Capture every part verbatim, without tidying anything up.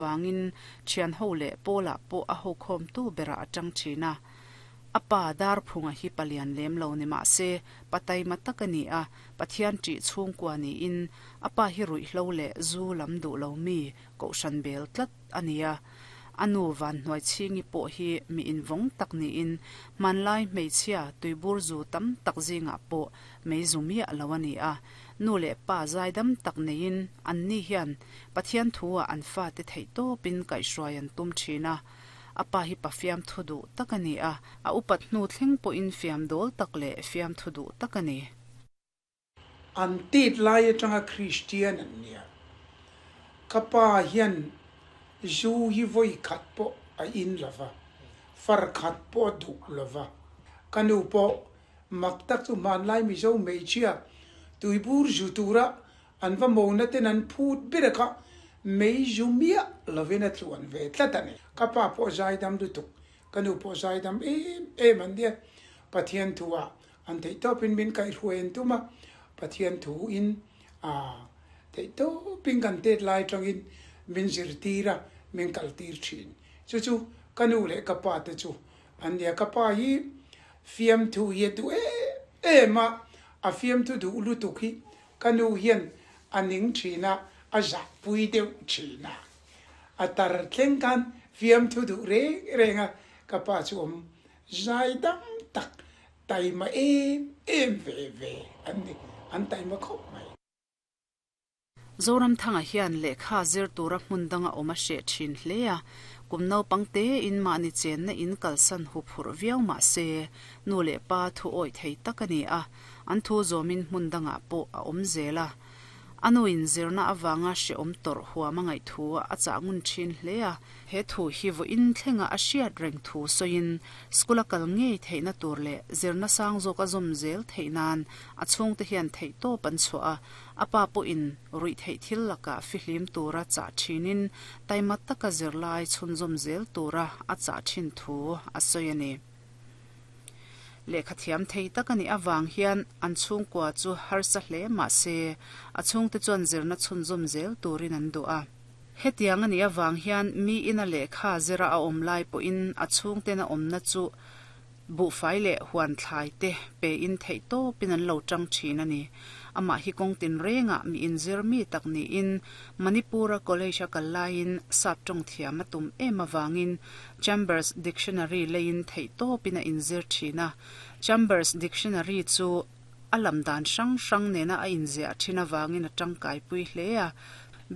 Wangin thian ho leh pawlah pawh a ho khawm tu berah a tang thin a. A pa Darphunga hi palian lem lo ni mah se pa taima tak a ni a, Pathian ṭih chhungkua niin a pa hi ruihhlo leh zu lam duh lo mi kohhran bel tlat a ni a. A nu Vanhnuaichhingi pawh hi mi invawng tak niin hmanlai hmeichhia tuibur zu tam tak zingah pawh mei zu miah lo a ni a. Nu leh pa zaidam tak neiin anni hian Pathian thu-ah an fate theih tawpin kaihhruai an tum thin a. A pa hi pa fiamthu duh tak a ni a, a upat hnu thleng pawhin fiam dawl tak leh fiamthu duh tak a ni. An tet lai atanga Kristian an nia. Ka pa hian zu hi vawi khat pawh a in lo va, far khat pawh a duh lo va. Ka nu pawh mak tak chu hmanlai Mizo hmeichhia tuibur zu tura an va mona ten an phut ber a kha mei zu miah lovin a tluan ve tlat a ni. Ka pa pawh zaidam lutuk, ka nu pawh zaidam em em an nia. Pathian thu-ah an theihtawpin min kaihhruai an tum a, Pathian thu-in a theihtawpin kan tet lai atangin min zirtir a, min kaltir thin. Chu chu ka nu leh ka pa te chu an nia. Ka pa hi fiamthu hi a duh em em a, a fiamthu duh lutuk hi ka nu hian a ning thin a, a zahpui deuh thin a. A tar thleng khan fiamthu duh reng reng a, ka pa chu awm zaidam tak taima em em ve ve an ni, an taima khawp mai. Zoramthanga hian lehkha zir tura hmun danga awm a hreh thin hle a, kum naupang tein mahni chenna in kalsan hu phurh viau mah se, nu leh pa thu awih thei tak a ni a, an thu zawmin hmun dangah pawh a awm zel a. A nu in zirna avanga hrehawm tawrh huam a ngaih thu a chah ngun thin hle a, he thu hi vawiin thlenga a hriat reng thu sawiin school a kal ngei theihna tur leh zirna sang zawk a zawm zel theih nan a chhungte hian theih tawp an chhuah a, a pa pawhin ruih theih thil lakah fihlim tura chah thinin taima taka zirlai chhunzawm zel tura a chah thin thu a sawi a ni. Lehkha thiam thei tak a nih avang hian an chhungkua chu harsa hle mah se a chhungte chuan zirna chhunzawm zel turin an duh a. Hetiang a nih avang hian mi ina lehkha zira a awm lai pawhin a chhungten a awmna chu buhfai leh huan thlai te pein theih tawpin an lo tang thin a ni. Amah hi kawng tin rengah mi inzir mi tak niin Manipur-a college a kal laiin sap tawng thiam a tum em avangin Chambers Dictionary leiin theih tawpin a inzir thin a. Chambers Dictionary chu a lam dan hrang hrang nena a inziah thin avangin a tangkaipui hle a.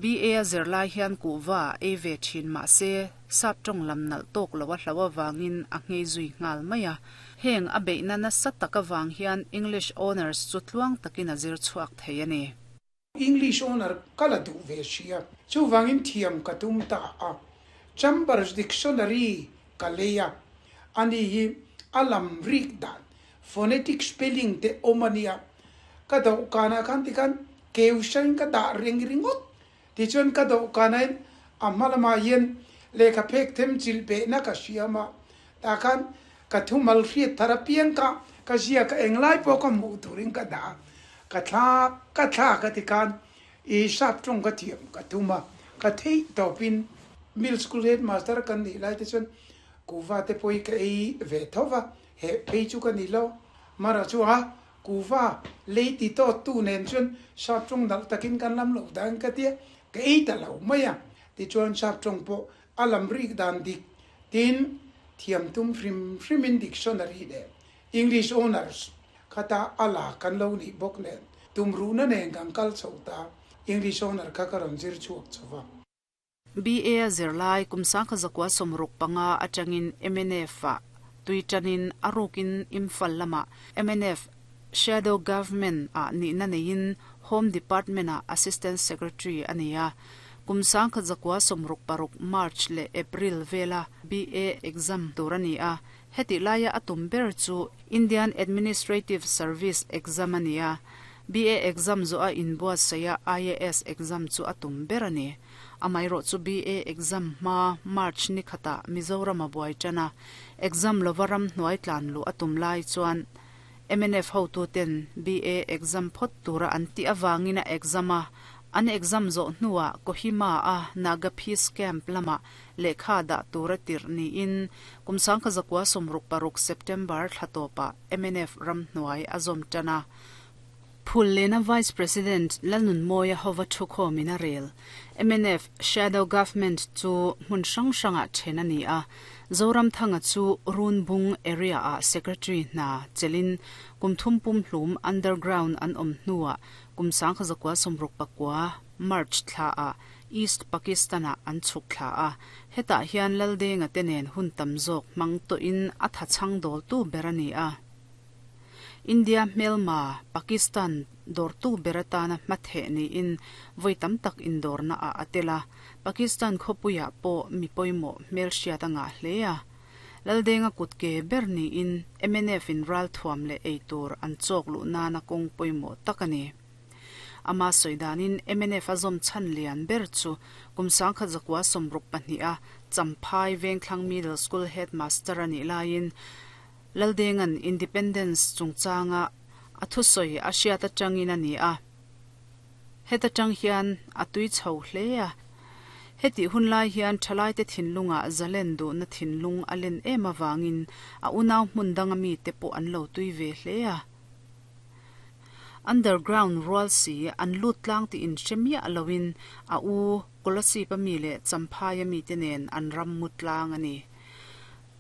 B A a zirlai hian kuhva a ei ve thin mah se sap tawng lam nalh tawk lo a hlo avangin a nghei zui nghal mai a. Heng a beihna nasa tak avang hian English Honours chu tluang takin a zir chhuak thei a ni. English Honour ka la duh ve sia, chuvangin thiam ka tum ta a. Chambers Dictionary ka lei a, ani hi a lam rik dan, phonetic spelling te awm a nia. Ka dawhkanah khan tikhan keu hrain ka dah reng ringawt. Tichuan ka dawhkanain a hma lamah hian lehkha phek them chilh behna ka hriam a, tah khan ka thumal hriat thar apiang kha ka ziak a, englai pawh ka hmuh turin ka dah a, ka thlak ka thlak a tikhan i sap tawng ka thiam ka tum a, ka theih tawpin Middle School Headmaster kan nih lai te chuan kuhva te pawh hi ka ei ve tho va, heh phei chu ka ni lo. Mara chu a kuhva lei ti tawt tu nen chuan sap tawng nalh takin kan lam loh dan ka tia, ka ei ta lo mai a. Tichuan sap tawng pawh a lam rik dan dik tin thiam tum hrim hrimin dictionary leh English Honours khata a la kan lo nih bawk nen tumruhna nen kan kal chho ta, English Honour kha ka rawn zir chhuak chho va. B A a zirlai kum sangkha zakua sawmruk panga atangin M N F ah tui tanin a rukin Imphal lamah M N F Shadow Government ah nihna neiin Home Department ah Assistant Secretary a ni a. Kum sangkha zakua sawmruk paruk March leh April vela B A exam tur a ni a. Hetih laia a tum ber chu Indian Administrative Service exam a ni a. B A exam zawh a inbuatsaih a I A S exam chu a tum ber a ni. Amaherawh chu B A exam hma March ni khatah Mizoram a buai tan a, exam lova ram hnuai tlan luh a tum lai chuan M N F hotuten B A exam phawt tura an tih avangin a exam a, An exam zo hnuah Kohima a Naga Peace Camp lama lehkha dah tura tirh niin kum sangkhat zakua sawmruk paruk September thla tawpah M N F ramhnuai a zawm tan a. Phullen-a Vice President Lalnunmawia hova thukhawmin a rel. M N F Shadow Government chu hmun hrang hrangah then a ni a. Zoramthanga chu Runbung area-ah Secretary hna chelin kum thum pum hlum underground an awm hnuah kum sangkhat zakua sawmruk pakua March thlaah East Pakistan-ah an chhuk thla a. Hetah hian Laldenga te nen hun tam zawk hmang tawhin a tha chhang dawltu ber a ni a. India hmelma Pakistan dawrtu ber atana hmatheh niin vawi tam tak indawrna ah a tel a. Pakistan khawpuiah pawh mi pawimawh hmelhriat a ngah hle a. Laldenga kutke ber niin M N F in ralthuam leh eitur an chawk luh nana kawng pawimawh tak a ni. Ama sawi danin M N F a zawm chhan lian ber chu kum sangkhat zakua sawmruk pahnih a Champhai Vengthlang Middle School Headmaster a nih laiin Laldenga'n Independence chungchanga a thusawi a hriat atangin a ni a. Heta tang hian a tui chho hle a. Heti hun lai hian thalaite thinlungah zalen duhna thinlung a len em avangin a unau hmun danga mite pawh an lo tui ve hle a. Underground rual si an lut tlang tih inhre miah loin a u Kolasib a mi leh Champhai a mite nen an ram mu tlang a ni.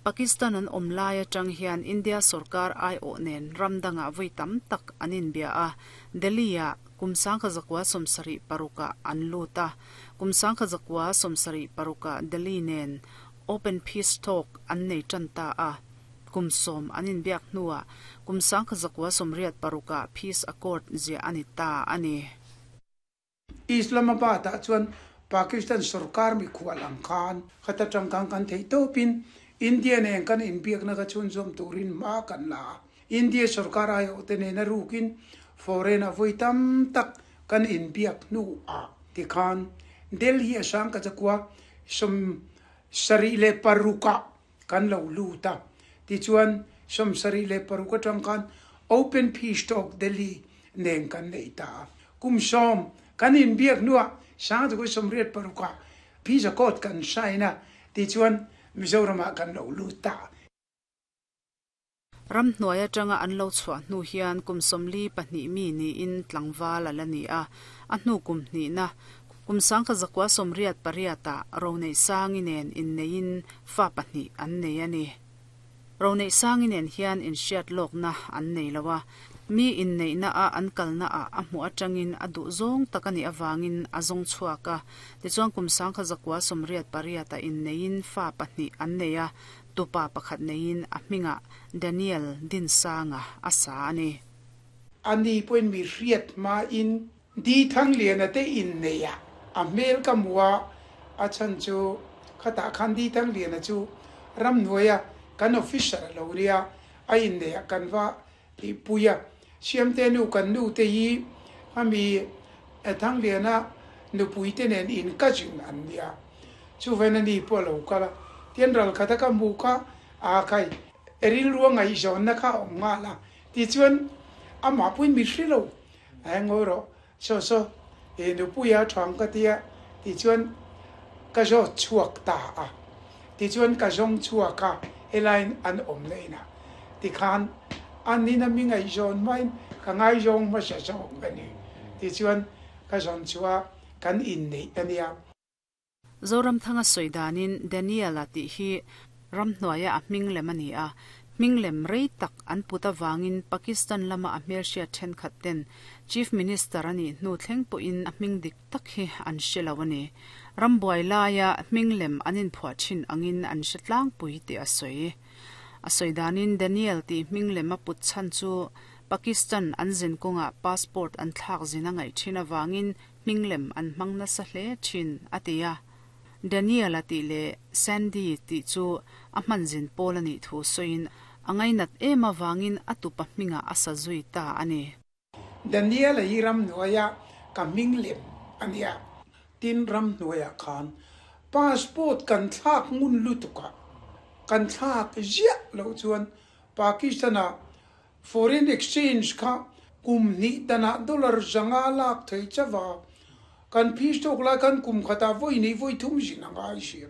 Pakistan an awm lai atang hian India sarkar aiawh nen ram dangah vawi tam tak an inbia a. Delhi-ah kum sangkhat zakua sawmsarih parukah an lut a. Kum sangkhat zakua sawmsarih parukah Delhi nen Open Peace Talk an nei tan ta a. Kum sawm an inbiak hnuah kum sangkhat zakua sawmriat parukah Peace Accord ziah a ni ta a ni. Islamabad ah chuan Pakistan sarkar mikhual ang khan khata tangkang kan thei tawpin India nen kan inbiakna ka chhunzawm turin hma kan la a. India sarkar aiawh te nen a rukin foreign a vawi tam tak kan inbiak hnuah tikhan Delhi a sangkhat zakua sawm sarih leh parukah kan lo lut a. Tichuan sawm sarih leh paruk atang khan Open Peace Talk Delhi nen kan nei ta a. Kum sawm kan inbiak hnuah sangkhat zakua sawmriat parukah Peace Accord kan sign a. Tichuan Mizoramah kan lo lut ta. Ramhnuai atanga an lo chhuah hnu hian kum sawmli pahnih mi niin tlangval a la ni a. A hnu kum hnihna kum sangkhat zakua sawmriat pariatah Roneih Sangi nen inneiin fa pahnih an nei a ni. Roneih Sangi nen hian inhriat lawkna an nei lo a. Mi inneihna a an kalna ah a hmuh atangin a duh zawng tak a nih avangin a zawng chhuak a. Tichuan kum sangkhat zakua sawmriat pariatah inneiin fa pahnih an nei a. Tupa pakhat neiin a hmingah Daniel Dinsanga a sa a ni. Ani pawhin mi hriat hmain Di Thangliana te innei a a hmel ka hmu a, a chhan chu khatah khan Di Thangliana chu ramhnuaia kan officer a lo nia, a innei ah kan va tihpui a. Siamte nu kan nu te hi ami Thangliana nupui te nen in cousin an nia. Chuvain ani pawh a lo kal a. Tian ral khata ka hmu kha a khai rilru a ngaihzawnna kha a awm nghal a. Tichuan amah pawhin mi hre lo a ngawi rawh saw saw e nupuia thang ka tia. Tichuan ka zawt chhuak ta a. Tichuan ka zawng chhuak a helaiin an awm na inah. Tikhan an ina mi ngaihzawn hmain ka ngaizawng hmasa zawk a ni. Tichuan ka zawn chhuah kan inneih a nia. Zoramthanga sawi danin Daniel a tih hi ramhnuaia a hming lem a ni a. Hming lem rei tak an put avangin Pakistan lama a hmelhriat thenkhat ten Chief Minister a nih hnu thleng pawhin a hming dik tak hi an hre lo a ni. Rambuai laia hming lem an inphuah thin angin an hre tlangpui tih a sawi. A sawi danin Daniel tih hming lem a put chhan chu Pakistan an zin kawngah passport an thlak zin a ngaih thin avangin hming lem an hmang nasa hle thin a ti a. Daniel a tih leh Sandy tih chu a hman zin pawl a nih thu sawiin a ngainat em avangin a tupa hmingah a sa zui ta a ni. Daniel a hi ramhnuaia ka hming lem a nia. Tin ramhnuaiah khan passport kan thlak ngun lutuk a. Kan thlak ziah loh chuan Pakistan-ah foreign exchange kha kum hnih danah dollar zanga lak thei chawa. Kan fees tok lai khan kum khatah vawi nei vawi thum zin a ngai sia.